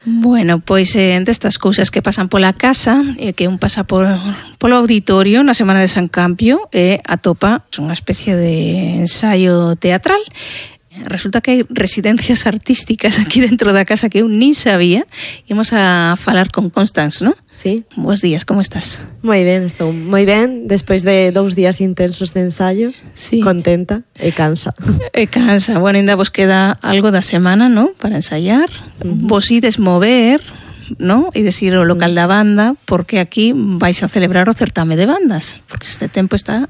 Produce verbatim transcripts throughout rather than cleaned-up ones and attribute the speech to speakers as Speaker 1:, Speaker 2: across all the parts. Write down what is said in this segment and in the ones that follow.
Speaker 1: Bueno, pois eh, destas cousas que pasan pola casa, e eh, que un pasa por, polo auditorio na Semana de San Campio e eh, atopa unha especie de ensaio teatral. Resulta que hai residencias artísticas aquí dentro da casa que eu nin sabía. Imos a falar con Constance, non?
Speaker 2: Sí.
Speaker 1: Bos días, como estás?
Speaker 2: Moi ben, estou moi ben. Despois de dous días intensos de ensaio, sí. Contenta e cansa.
Speaker 1: E cansa. Bueno, ainda vos queda algo da semana, non? Para ensaiar. Uh-huh. Vos ides mover, non? E decir o local da banda, porque aquí vais a celebrar o certame de bandas. Porque este tempo está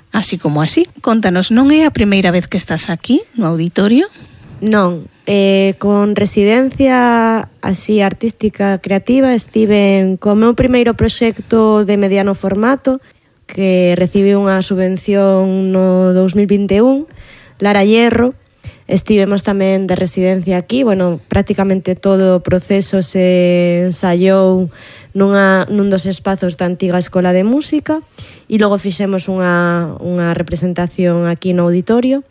Speaker 1: así como así. Contanos, non é a primeira vez que estás aquí, no auditorio?
Speaker 2: Non, eh, con residencia así artística creativa estive co meu primeiro proxecto de mediano formato que recibi unha subvención no dous mil vinte e un, Lara Hierro. Estivemos tamén de residencia aquí, bueno, prácticamente todo o proceso se ensaiou nunha, nun dos espazos da antiga Escola de Música e logo fixemos unha, unha representación aquí no auditorio.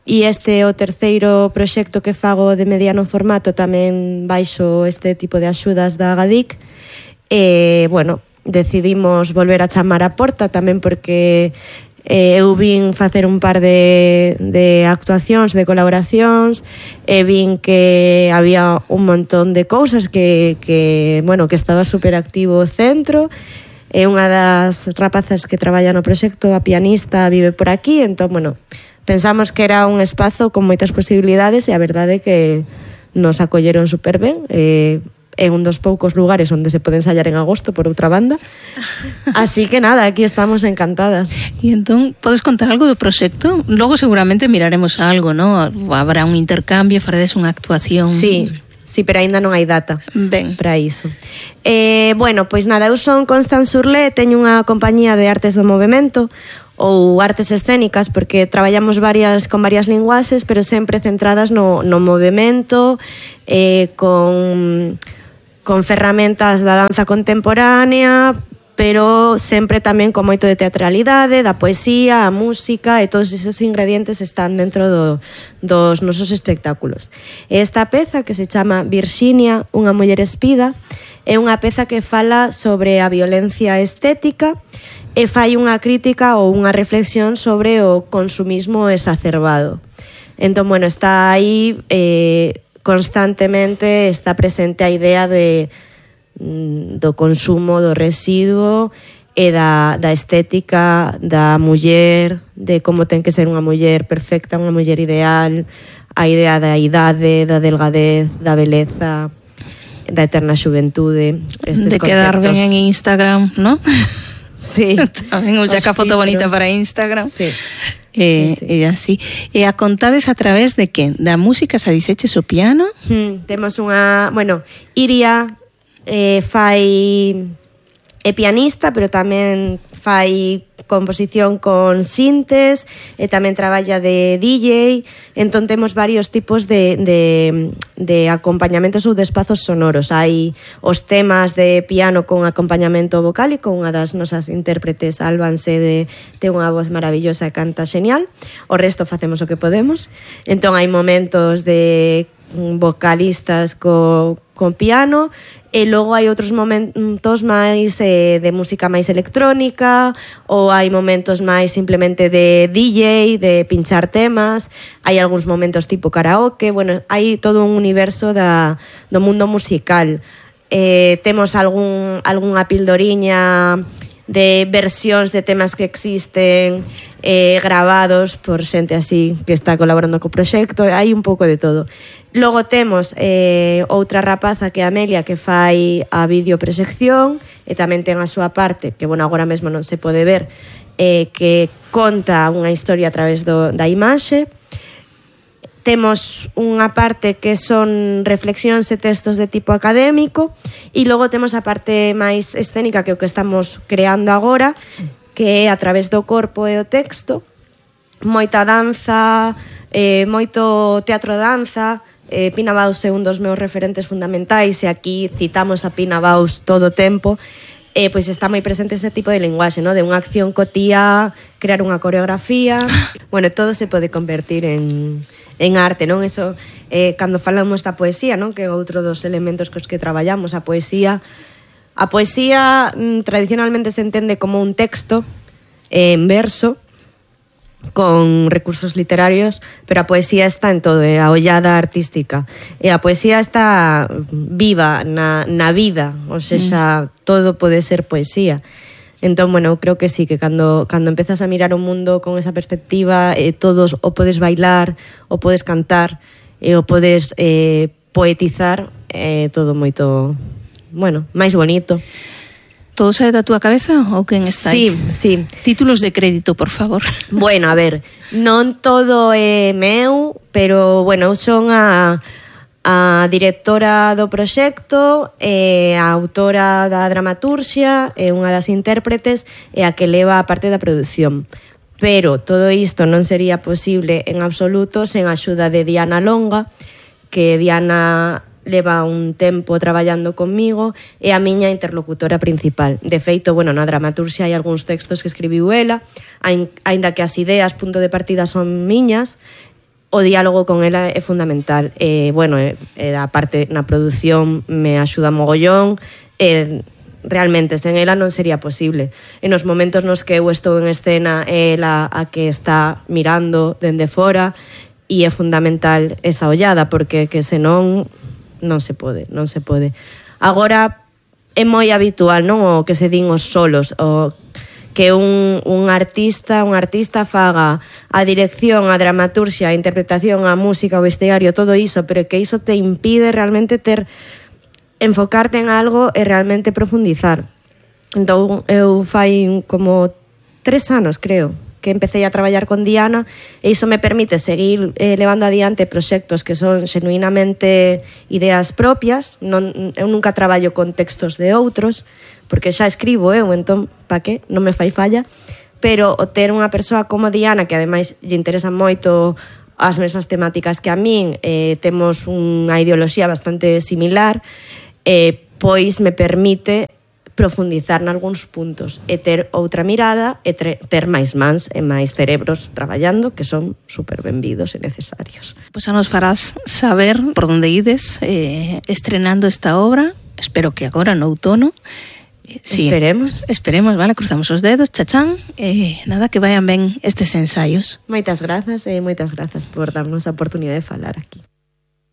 Speaker 2: E este é o terceiro proxecto que fago de mediano formato tamén baixo este tipo de axudas da Agadic. E, bueno, decidimos volver a chamar a porta tamén porque eh, eu vin facer un par de, de actuacións, de colaboracións, e vin que había un montón de cousas que, que, bueno, que estaba super activo o centro. É unha das rapazas que traballa no proxecto, a pianista, vive por aquí, entón, bueno, pensamos que era un espazo con moitas posibilidades e a verdade é que nos acolleron super ben. Eh, é un dos poucos lugares onde se pode ensaiar en agosto, por outra banda. Así que nada, aquí estamos encantadas.
Speaker 1: E entón, podes contar algo do proxecto? Logo seguramente miraremos algo, ¿no? Habrá un intercambio, faredes unha actuación.
Speaker 2: Sí, sí, pero aínda non hai data
Speaker 1: ben
Speaker 2: para iso. Eh, bueno, pois nada, eu son Constance Urlé, teño unha compañía de artes do movemento ou artes escénicas, porque traballamos varias con varias linguaxes, pero sempre centradas no, no movemento, eh, con, con ferramentas da danza contemporánea, pero sempre tamén con moito de teatralidade, da poesía, a música, e todos esos ingredientes están dentro do, dos nosos espectáculos. Esta peza, que se chama Virxinia, unha muller espida, é unha peza que fala sobre a violencia estética e fai unha crítica ou unha reflexión sobre o consumismo exacerbado. Entón, bueno, está aí eh, constantemente, está presente a idea de do consumo, do residuo e da, da estética da muller, de como ten que ser unha muller perfecta, unha muller ideal, a idea da idade, da delgadez, da beleza, da eterna xuventude.
Speaker 1: De quedar ben en Instagram, ¿no?
Speaker 2: Sí.
Speaker 1: Tamén un saca foto bonita para Instagram.
Speaker 2: Sí.
Speaker 1: E,
Speaker 2: sí, sí.
Speaker 1: e así. E a contades a través de que? Da música se diseches o piano?
Speaker 2: Hmm, temos unha... Bueno, Iria eh, fai... é pianista, pero tamén fai composición con sintes e tamén traballa de D J. Entón temos varios tipos de, de, de acompañamentos ou de espazos sonoros. Hai os temas de piano con acompañamento vocálico, unha das nosas intérpretes, Alban Sede, ten unha voz maravillosa e canta xenial. O resto facemos o que podemos. Entón hai momentos de vocalistas co, con piano, e logo hai outros momentos máis eh, de música máis electrónica, ou hai momentos máis simplemente de D J, de pinchar temas, hai algúns momentos tipo karaoke, bueno, hai todo un universo da, do mundo musical. Eh, temos algún, algunha pildoriña de versións de temas que existen eh, gravados por xente así que está colaborando co proxecto, hai un pouco de todo. Logo temos eh, outra rapaza que é Amelia, que fai a videoproxección e tamén ten a súa parte, que bueno, agora mesmo non se pode ver, eh, que conta unha historia a través do, da imaxe. Temos unha parte que son reflexións e textos de tipo académico, e logo temos a parte máis escénica, que é o que estamos creando agora, que é a través do corpo e o texto, moita danza, eh, moito teatro-danza. eh, Pina Bausch é un dos meus referentes fundamentais, e aquí citamos a Pina Bausch todo o tempo. Eh, pois está moi presente ese tipo de linguaxe, ¿no? De unha acción cotía, crear unha coreografía. Bueno, todo se pode convertir en, en arte, non? Eso, eh, cando falamos da poesía, non? Que é outro dos elementos cos que traballamos, a poesía. A poesía mm, tradicionalmente se entende como un texto eh, en verso, con recursos literarios, pero a poesía está en todo, é a ollada artística. E a poesía está viva na, na vida, ou seja, mm. todo pode ser poesía. Entón, bueno, creo que sí, que cando, cando empezas a mirar o mundo con esa perspectiva, eh, todos o podes bailar, o podes cantar, e o podes eh, poetizar, eh, todo moito, bueno, máis bonito.
Speaker 1: Todo sae da túa cabeza ou quen está
Speaker 2: aí? Sí, sí.
Speaker 1: Títulos de crédito, por favor.
Speaker 2: Bueno, a ver, non todo é meu, pero, bueno, eu son a, a directora do proxecto, e a autora da dramaturxia, e unha das intérpretes, e a que leva a parte da produción. Pero todo isto non sería posible en absoluto sen a axuda de Diana Longa, que Diana leva un tempo traballando conmigo, é a miña interlocutora principal. De feito, bueno, na dramaturxia hai algúns textos que escribiu ela, aínda que as ideas, punto de partida, son miñas, o diálogo con ela é fundamental. E, bueno, e, e a parte na produción me axuda mogollón, e realmente sen ela non sería posible. En os momentos nos que eu estou en escena, é ela a que está mirando dende fora, e é fundamental esa ollada, porque que senón non se pode, non se pode. Agora é moi habitual, non, o que se din os solos, o que un, un artista, un artista faga a dirección, a dramaturxia, a interpretación, a música, o vestiario, todo iso, pero que iso te impide realmente ter enfocarte en algo e realmente profundizar. Entón, eu fai como tres anos, creo, que empecé a traballar con Diana, e iso me permite seguir eh, levando adiante proxectos que son xenuinamente ideas propias. Non, eu nunca traballo con textos de outros, porque xa escribo eu, entón, pa que? Non me fai falla. Pero o ter unha persoa como Diana, que ademais lle interesan moito as mesmas temáticas que a min, eh, temos unha ideoloxía bastante similar, eh, pois me permite profundizar nalgúns puntos e ter outra mirada e ter máis mans e máis cerebros traballando, que son super benvidos e necesarios.
Speaker 1: Pois xa nos farás saber por onde ides eh, estrenando esta obra, espero que agora no outono.
Speaker 2: Sí, esperemos.
Speaker 1: Esperemos, vale, cruzamos os dedos, chachán, e eh, nada, que vayan ben estes ensaios.
Speaker 2: Moitas grazas e moitas grazas por darnos a oportunidade de falar aquí.